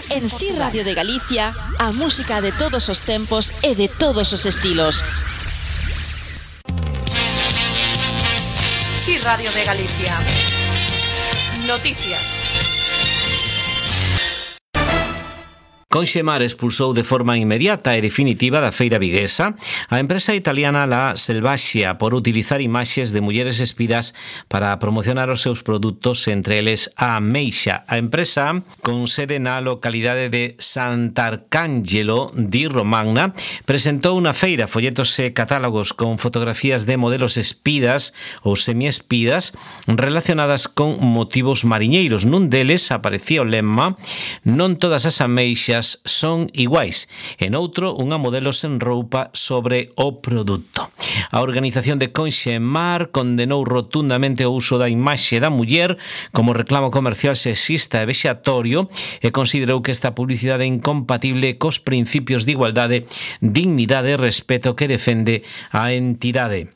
En Si Radio de Galicia, a música de todos os tempos e de todos os estilos. Si Radio de Galicia. Noticias. Conxemar expulsou de forma inmediata e definitiva da feira viguesa a empresa italiana La Selvaxia por utilizar imaxes de mulleres espidas para promocionar os seus produtos, entre eles a ameixa. A empresa, con sede na localidade de Sant'Arcangelo di Romagna, presentou na feira folletos e catálogos con fotografías de modelos espidas ou semiespidas relacionadas con motivos mariñeiros. Nun deles aparecía o lema "Non todas as ameixas son iguais", en outro unha modelo sen roupa sobre o produto. A organización de Conxemar condenou rotundamente o uso da imaxe da muller como reclamo comercial sexista e vexatorio e considerou que esta publicidade é incompatible cos principios de igualdade, dignidade e respeto que defende a entidade.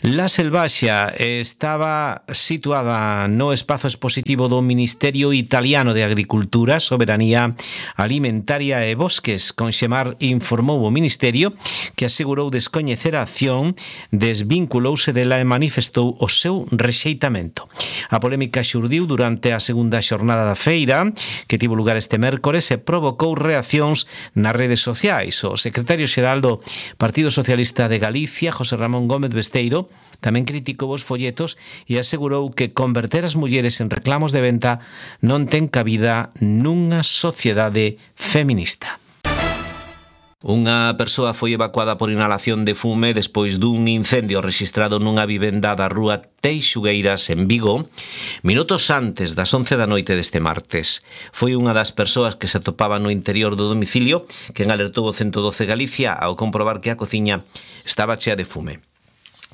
La Selvaxia estaba situada no espazo expositivo do Ministerio Italiano de Agricultura, Soberanía Alimentaria e Bosques. Conxemar informou o Ministerio que asegurou descoñecer a acción, desvinculouse dela e manifestou o seu rexeitamento. A polémica xurdiu durante a segunda xornada da feira, que tivo lugar este mércores, e provocou reaccións nas redes sociais. O secretario xeral do Partido Socialista de Galicia, José Ramón Gómez Besteiro, tamén criticou os folletos e asegurou que converter as mulleres en reclamos de venta non ten cabida nunha sociedade feminista. Unha persoa foi evacuada por inhalación de fume despois dun incendio rexistrado nunha vivenda da rúa Teixugueiras, en Vigo, minutos antes das 11 da noite deste martes. Foi unha das persoas que se atopaba no interior do domicilio quen alertou o 112 Galicia ao comprobar que a cociña estaba chea de fume.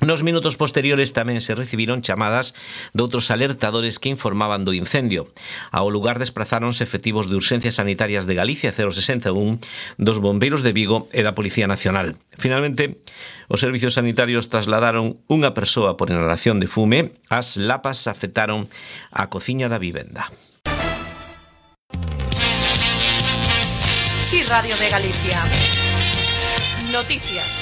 Nos minutos posteriores tamén se recibiron chamadas de outros alertadores que informaban do incendio. Ao lugar desprazáronse efectivos de Urxencias Sanitarias de Galicia 061, dos Bombeiros de Vigo e da Policía Nacional. Finalmente, os servicios sanitarios trasladaron unha persoa por inhalación de fume. As lapas afectaron a cociña da vivenda. Si Radio de Galicia. Noticias.